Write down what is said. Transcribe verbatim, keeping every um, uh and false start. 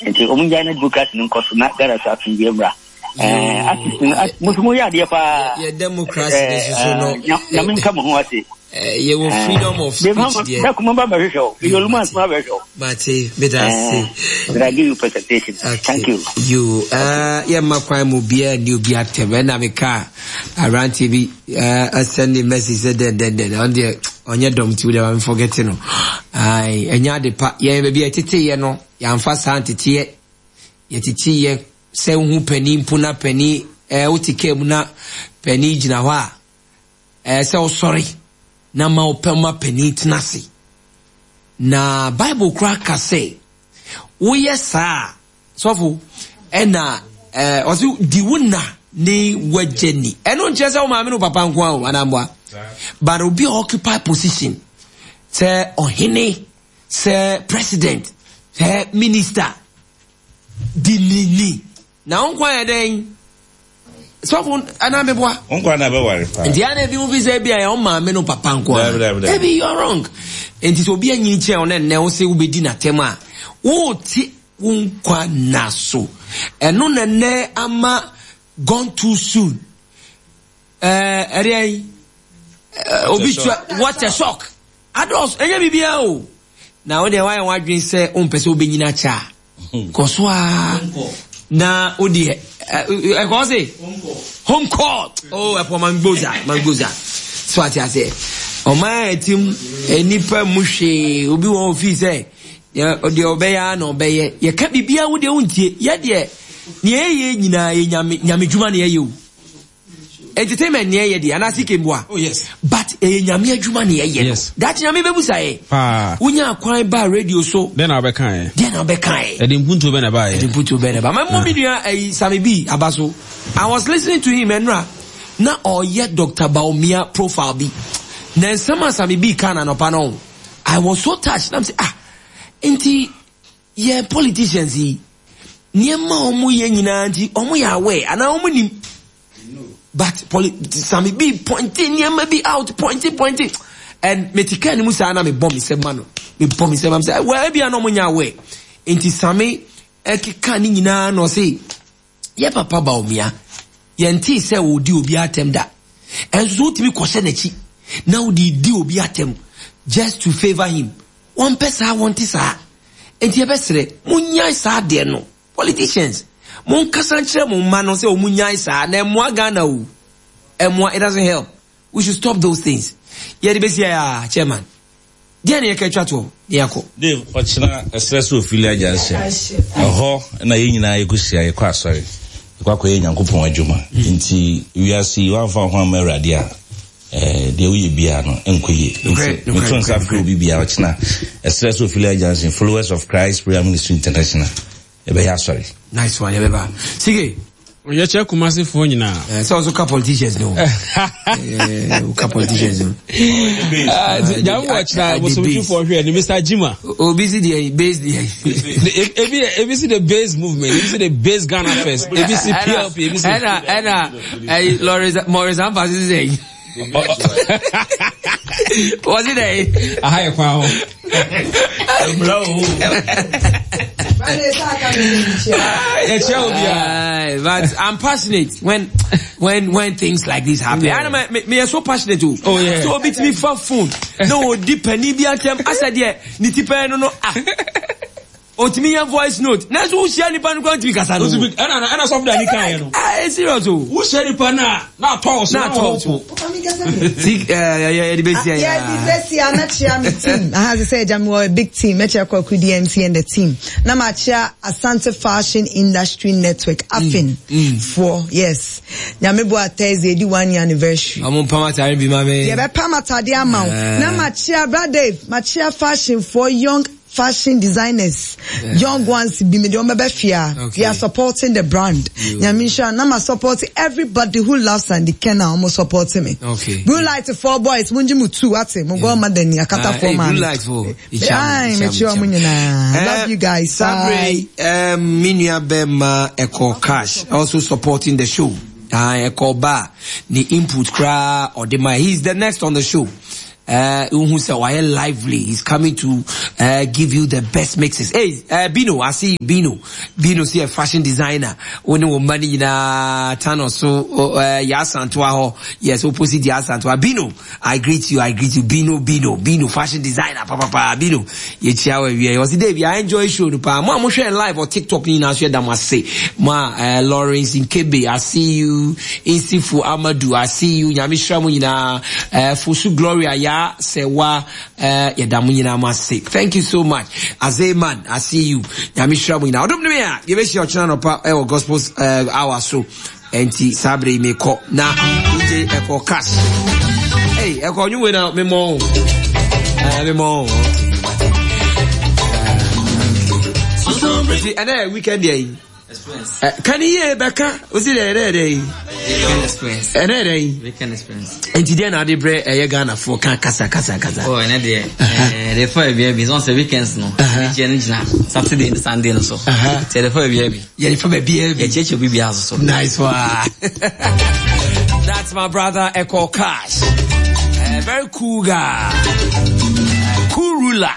Nti ɔmo ngyae na democracy no nkɔ so na Ghana so asomdwoe mmra. Ɛɛ artist no mo nso moyɛ adeɛ paa. Yɛ democracy no soso no. Nyame nka mo ho ase. Yɛwɔ freedom of speech deɛ. Dako mo ba bɛhwehwɛ o. Meyɛ olumu anso ma bɛhwehwɛ o. Mate, meda ase. But I give you presentation. Okay. Thank you. You, uh, yɛ mma kwan mu obiara ni obi atɛm. Ɛna meka aberanteɛ bi ɛsɛn ne message sɛ dɛn dɛn dɛn. Ɔno deɛ ɔnyɛ dɔm ti wo deɛ ma me forget no. Ayi, ɛnyɛ ade pa. Yɛn baabi a yɛtete yɛ no, yɛamfa saa nteteɛ. Yɛtete yɛ sɛ wohu panin mpo na panin ɛɛ wote kaa mu na panin gyina hɔ a, ɛɛ sɛ wosɔre na ma wopɛ ma panin tena ase. Na Bible koraa ka sɛ woyɛ saa a, sɔfo ɛna ɛɛ ɔsi di wo na ne wagya ni. Ɛno nkyerɛ sɛ wo maame ne wo papa nko ara o, anaa mboa. But obi a occupy position sɛ ɔhene, sɛ president, sɛ minister, di ni ni. Na wo nkwa yɛ dɛn? Sɔfo anaa meboa? Wo nkwa na bɛware paa. Nti ana ebi mu fi sɛ ebi a yɛ maame no papa nko a. Ebi you are wrong. Nti sɛ obi anyini kyɛn wo na nnɛ wo sɛ wobɛdi n'atɛm a, wote wo nkwa na so. Ɛno na nnɛ ama gone too soon. Ɛɛ ɛdeɛ yi, obi tua what a shock. Adɔs ɛnyɛ biribiara o. Na wo deɛ woayɛ w'adwene sɛ wompɛ sɛ wobɛnyini akyɛ a, kɔ so a na wo deɛ ɛkɔ se home court. Oh, ɛpɔ mangboza mangboza so ate aseɛ. Ɔman a ɛtim nnipa mu hwee obi wɔn ofii sɛ deɛ ɔbɛyɛ a na ɔbɛyɛ. Yɛka biribiara wo deɛ wontie. Yɛ deɛ nea ɛyɛ nyinaa yɛ nyame nyame dwuma na yɛyɛ o. Entertainment ni ɛyɛ deɛ anaasɛ ike mboa. Oh yes. But ɛyɛ nyame adwuma na ɛyɛ no. Yes. Daakye nyame bɛbusa yɛ. Paa. Wonya kwan baa radio so. Dɛn na wobɛka yɛ? Dɛn na wobɛka yɛ? Ɛde mpuntuo bɛn na ɛbaa yɛ? Ɛde mpuntuo bɛn na ɛbaa. Ma mmɔ me nua ɛyi Sami B aba so. I was listening to him ɛnora na ɔyɛ Doctor Bawumia profile bi. Na nsɛm a Sami B ka na anɔpa no, I was so touched. Na m sɛ ah, nti yɛn politicians yi nneɛma a wɔn yɛ nyinaa nti wɔn yɛ aware anaa wɔn nim. But poli Sami B pointing nneɛma bi out, pointing, pointing. And me ti kaa ne mu saa na me bɔ me sɛ ma no. Me bɔ me sɛ ma me sɛ well ebi a na wɔn nyɛ aware. Nti Sami ɛkeka ne nyinaa na ɔse yɛ papa Bawumia yɛn ti sɛ ɔdi obi atɛm da. Ɛnso so wotumi kɔhyɛ n'akyi na wodi di obi atɛm just to favour him. Wɔn pɛ saa, wɔn ti saa. Nti yɛbɛsrɛ monyae saa adeɛ no. Politicians, monkasa nkyerɛ mo mma no sɛ wɔn nyae saa na ɛmmoa Ghana o. Ɛmmoa, it doesn't help. We should stop those things. Yɛde bɛsi ayɛ a, chairman. Deɛ na yɛka atwa toɔ, na yɛakɔ. Dave, ɔkyena ɛserɛ sɛ Ophelia Junction. Ɛhɔ na yɛn nyinaa yɛkɔhyia, yɛkɔ asɔre. Yɛkɔ akɔyɛ Nyankopɔn adwuma. Nti wiase yi, woamfa wo ho amma Awurade a, eh, deɛ woyɛ biara no, ɛnkɔ yie. Nti meto nsa frɛ obi biara ɔkyena ɛserɛ sɛ Ophelia Junction, Followers of Christ Prayer Ministry International. Ɛbɛyɛ asɔre. Nice one, yɛbɛba. Sige. Yɛkyɛ Kumasefoɔ nyinaa. Eh, sɛ ɔso ka politicians no. Eh, woka politicians no. Nyame wɔ kyena bosomtwefoɔ hwɛ ne Mister Jima. Obi si deɛ base deɛ. Ebi ebi si the base movement, ebi si the base Ghana first, ebi si P L P, ebi si. Ɛna ɛna ɛyi Lawrence Maurice Ampa si sɛ. Wɔsi dɛ. Aha yɛ kwan ho. But I'm passionate when when when things like this happen. Yeah. I me, me, me so passionate too. Oh yeah. So obi timi fa phone. No odi pani bi atem. Asa de ni ti pɛ no no ah. Otimi yɛ voice note. Na so wohyia nipa no kwan timi kasa no. Otimi ɛna ɛna sɔfo da ni kan yɛ no. Ah, it's serious o. Wohyia nipa na na atɔ so. Na atɔ so. Ti eh yɛ de besi ya. Yeah, de besi ya na chia me team. Aha se sɛ jam wɔ big team. Mekyia Kwaku D M C and the team. Na ma chia Asante Fashion Industry Network AFIN for yes. Nyame bo a Thursday di one year anniversary. Ɔmo pam atare bi ma me. Yɛ bɛ pam atade ama wo. Na ma chia Bra Dave, ma chia fashion for young fashion designers, yeah. Young ones bi me de omo be fia. Okay. We are supporting the brand. Nyame nhyira na ma support everybody who loves Andy Kenna omo support me. Okay. Blue light four boys munji mu two ate mo go ma dani akata uh, four man. Blue light four. Ai me chi omo nyina. Love you guys. Sabre um me nua be ma Echo Cash also supporting the show. Ah uh, Echo Ba ni input kra or de my he's the next on the show. Uh, wohu sɛ wayɛ lively. He's coming to uh, give you the best mixes. Hey, uh, Bino, I see you, Bino. Bino see a fashion designer. Wo ne wo mma no nyinaa tano so uh, Yasantoa hɔ. Yes, opposite Yasantoa. Bino, I greet you, I greet you. Bino, Bino, Bino, fashion designer. Papa, papa, Bino. Yɛkyia wɔ awie. Ɔsi Dave, I enjoy show no paa. Mo a mohwɛ live or TikTok ni nyinaa so yɛda mo ase. Mo a uh, Lawrence Nkebe, I see you. Insifu Amadu, I see you. Nyame hyira mo nyinaa. Uh, Fosu Gloria, ya Sewa, uh, yɛda mo nyinaa mo ase. Thank you so much. Azeman, I see you. Nyame hyira mo nyinaa. Ɔdom ne me a, yɛbɛhyia ɔkyena nɔpa ɛwɔ gospel uh, hour so. Enti saa bere yi mekɔ na D J Ɛkɔ Cash. Hey, Ɛkɔ nwumwe na memmɔ wo. Uh, memmɔ wo. Nti ɛnɛ yɛ weekend yɛ yi. Ka ne yie bɛka osi dɛ ɛnɛ yɛ dɛ yi. Weekend experience. Ɛnɛ yɛ dɛ yi. Weekend experience. Nti deɛ na ade brɛ ɛyɛ Ghanafoɔ ka kasa kasa kasa. Oh, ɛnɛ deɛ, ɛɛ, de fa baabi bi, sɛ weekends no, ɛgyina no gyina Saturday ne Sunday no so. Sɛ de fa baabi bi. Yɛde fa baabi bi. Yɛkyerɛkyerɛ obi biara so so. Nice one. That's my brother Echo Cash. A very cool guy. Cool ruler.